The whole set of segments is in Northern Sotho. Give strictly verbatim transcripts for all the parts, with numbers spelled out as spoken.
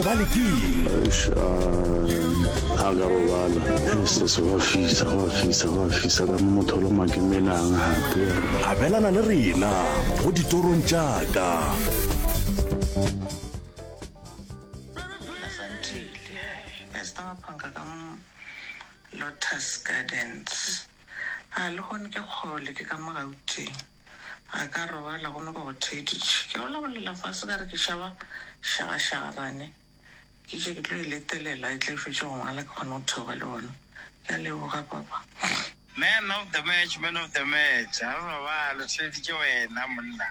robale keng? Eish, a ka robala. Se go a fisa, go a fisa, go a fisa ka mo motho o le makemelang gape. Abelana le rena go ditorong tša ka. Asantile, Esther Maphanka ka mo Lotus Gardens. A lehono ke kgole ke ka mo Gauteng. Ga ka robala gomme ka go theeditše. Ke bolabolela fase ka re ke šaba šagašagabane. Ke itše ke tlo e letelela e tle e fetše go ngwala ke kgone go theoga le bona. Ke a leboga papa. Man of the match, man of the match. Ha re robale, theeditše wena monna.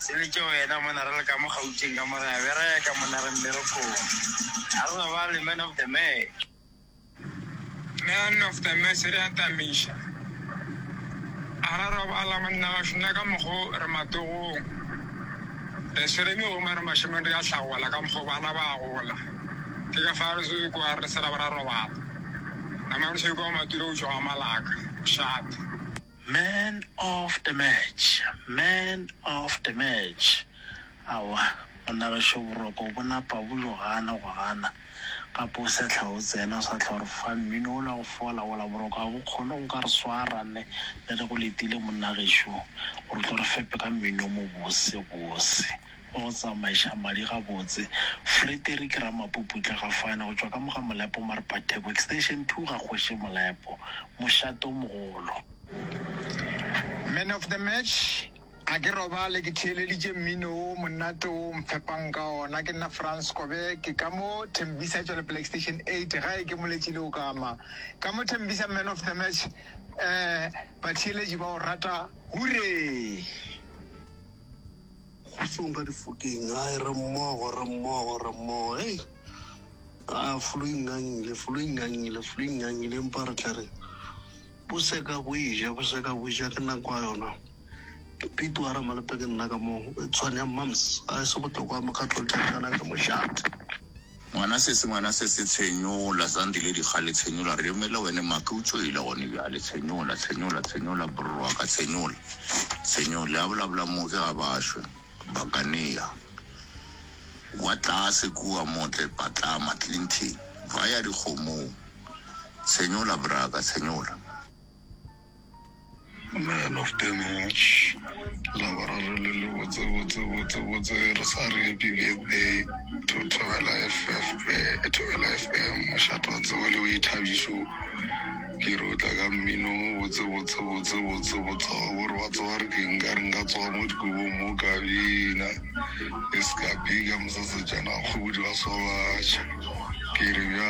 Theeditše wena monna re le ka mo Gauteng ka mo re a bereka monna re mmerekong. Ha re robale, man of the match. Man of the match re a tamiša. A ra robala monna gašo nna ka mokgo re matogong. Re swere megoma re mašemong re a hlagola ka mokgo bana ba gola. Ke ka fa re se kwa re se ra ba ra robala. Nama re se kwa maturo o tšwa ga malaka. Mošate. Man of the match, man of the match. Aowa, monna gešo boroko bo napa bo yo gana go gana. Gape o sa hla o tsena o sa hla o re fa mmino wola go fola wola boroko ga bo kgone go ka re swara ne ne re go letile monna gešo gore o tlo re fepe ka mmino o mobose bose wa go tsamaiša madi gabotse. Frederick Ramapuputla ga fane go tšwa ka mo ga Molepo Marpatheko extension two ga kgoši Molepo mošate o mogolo. Man of the match, a ke robale ke theeleditše mmino o monate o mfepang ka ona. Ke nna Frans Kobe, ke ka mo Tembisa Tšwelopele Extension eight gae ke moletši le o kama. Ka mo Tembisa man of the match, eh batheeletši ba o rata hure. Kgotsong ka difokeng, ai re mmogo, re mmogo, re mmogo. Hei, a flu e ngangile, flu e ngangile, flu e ngangile, empa re tla re bo seka bo eja, bo seka bo ja ke nako ya yona. Pete wa Ramalepe ke nna ka mo Tshwane ya Mams, a e se bohlokwa mokgatlo tšana ke mošate. Ngwana sese, ngwana sese, tshenyola, Zandile dikgale tshenyola, re emele wene make o tšoile gone bjale, tshenyola, tshenyola, tshenyola, brr wa ka tshenyola, tshenyola, ya bolabula mo ke ga bašwe, Bakanea, wa tlase kua motle Patlama, Clinton, ba ya dikgomong, tshenyola braka, tshenyola. Man of the match, Laboraro le le botse botse botse botse re sa re happy birthday to Thobela F F eh, Thobela F M mošate wa tsebo le boithabišo. Ke re o tla ka mmino mo botse botse botse botse botse wa gore wa tseba re ke nka re nka tsoga mo dikobong mo ka bina e se ka bika mosesejana wa kgobodi wa sobatšha ke re bja.